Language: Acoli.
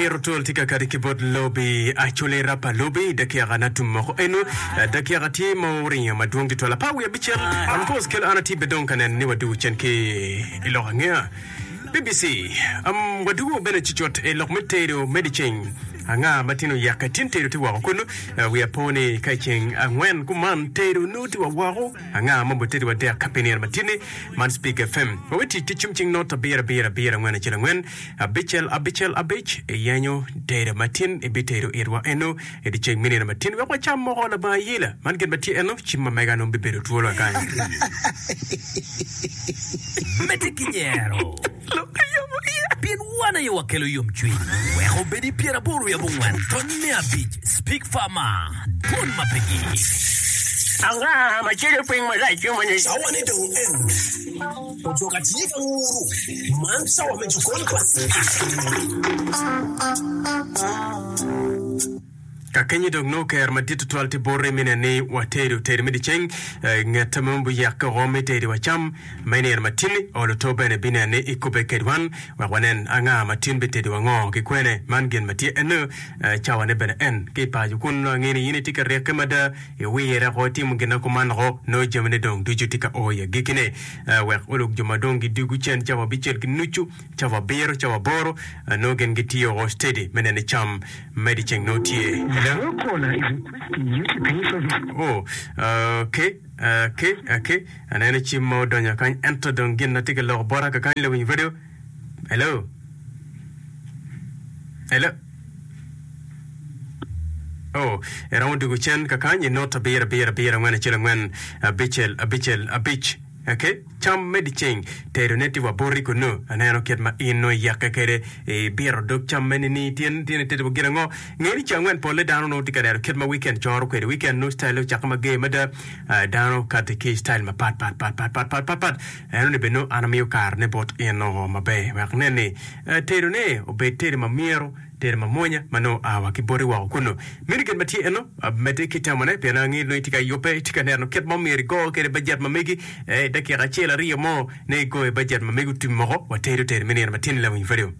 Abiro twol tye ka kati ki bot lobi Acholi rapa lobi i dakika na tum moko eno. Dakika tye ma oringo madwong tutwal apar wiye abicel. Of course kelo an atye be dong ka neno ni wadugo cen ki i lok angeya. BBC, um, wadugo bene cucut i lok me tedo me dyeceng. Anga ma tin oyekke tin tedo tye woko kunu? Uh, wiya po ni ka i ceng angwen kuman tedo nongo tye wa woko. Anga ma obitedo wa dek pi nino matinni? Man Speak FM. Wawe tic ki cim cing not abiro abiro abiro angwen acel angwen abicel abicel abic iyenyo tedo matin ibitedo itwa eno i dyeceng me nino matin wek wacam moko labongo ayela. Man gin ma tye eno cim ma mega nongo bibedo twolo kakany. Medde ki nyero, pien wan aye wakelo yomcwiny. Wek obed i pyeraboro wiye abongwen tony me abic, Speak Farmer, Dwon ma pe gik. Anga ma celo piny malac yomoni? Cawane dong en. Ojoka tye ka nguru. Man cawa me jokon pa Speak. Ka kenyo dong nongo ker madit tutwal tye boti me neno ni watedo tedo me dyeceng nget ma buyekke oko me tedo wa cam ma inino ma tin-ni. Olo to bene bineno ni ikubbe ked wan wek wanen anga ma tin bitedo wa ngo ki kwene. Man gin ma tye eno cawa ne bene en ki i paco kun ange ni in itye ka ryekke mada iwire oko itimo gin na kuman oko nongo jami ne dong ducu tye ka o i agikki ne wek olok jo ma dong gidwogo cen cawa abicel ki nucu Cawa abiro, cawa aboro, nongo gin gitiyo o steady me neno ni cam me dyeceng nongo tye. Hello? Oh, okay, okay, okay. Aneno cim ma odonyo kany, ento dong gin atye ka loko bota kakany lawiny radio. Hello? Hello? Oh, iromo dugo cen kakany i not abiro, abiro, abiro, angwen, acel, angwen, abicel, abicel, abic. Ok, cam me dyeceng tedone tye wa boti kunnu. Aneno kit ma in nongo iyekke kwede ibito dog cam meni ni tin tin itedo wa gin ango. Nge ni ceng angwen polle dano nongo tye ka neno kit ma weekend coro kwede. Weekend nongo style ocakke mager mada. Ah, dano kati ki style mapat pat pat pat pat pat pat pat. Eno ni bene nongo an amiyo kare ne bot in nongo maber wek inen ni eh, tedone obed tedo ma myero. Tedo mamwonya ma nongo oa wa ki boti woko kunnu. Meno gin ma tye eno, medde ki tamone, pien angeyo nongo itye ka yubbe, itye ka neno kit ma myero igo kwede bajet ma megi. I dakika acel aryo mo, nongo igoyo bajet ma megi otum moko, watedo tedo me nino matin-ni lawiny radio.